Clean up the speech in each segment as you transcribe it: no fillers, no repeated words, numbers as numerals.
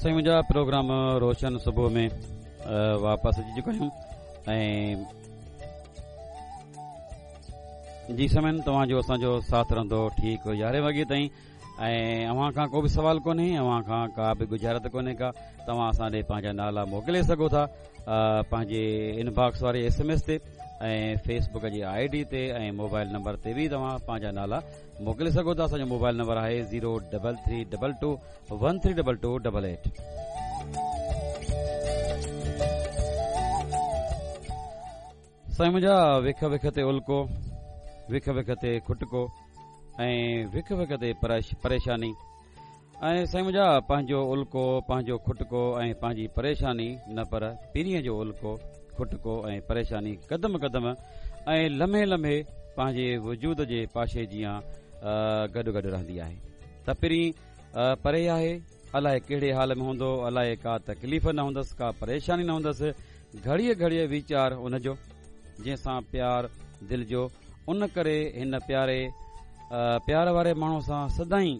سائين منهنجا پروگرام روشن صبح ۾ واپس اچي چڪا آهيون ۽ جي سامعين توهان جو اسان جو ساٿ رهندو ٺيڪ يارهين وڳي تائين ۽ اوهان کان ڪو به سوال ڪونهي اوهان کان ڪا به ڳجهارت ڪونهي ڪا توهان اسان ڏي پنهنجا نالا موڪلي سگهو ٿا پنهنجي ان باڪس واري ايس ايم ايس تي ۽ فيس بڪ جي I D تي ۽ موبائل نمبر تي به توهان پنهنجا نالا موڪلي سگهو ٿا اسان جو موبائل نمبر آهي zero double three double two one three double two double eight سائين منهنجا وک وک تي الڪو وک وک تي کٽڪو ۽ وک وک تي پريشاني ۽ سائين منهنجا پنهنجو الڪو پنهنجو کٽڪو ۽ پنهنجي پريشاني نه پر پرينء جو الڪو کٽڪو ۽ پريشاني قدم قدم ۽ لمحي لمحي پنهنجي وجود جي پاشي جيان گڏ گڏ رهندي آهي ته پرين پري آهي الائي ڪهڙي حال ۾ هوندو الائي ڪا تڪليف نه هوندس ڪا پريشاني نه هوندس گهڙيء گهڙيء ويچار ان جو جنهن سان پيار دل جو ان ڪري هن پياري پيار واري ماڻهو سان سدائين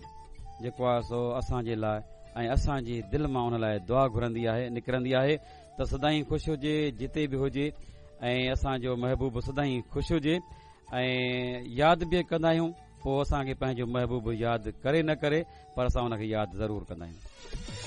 جيڪو آهي سو اسان جي لاء ۽ اسان جي دل مان ان لاء دعا گهرندي آهي نڪرندي آهي ته سدائين خوش هجي جتي به هجي ۽ اسان جو محبوب سدائين خوش هجي ۽ ياد به ڪندا آهيون پوء اسان کي پنهنجو محبوب ياد ڪري نه ڪري پر اسان ان کي ياد ضرور ڪندا آهيون.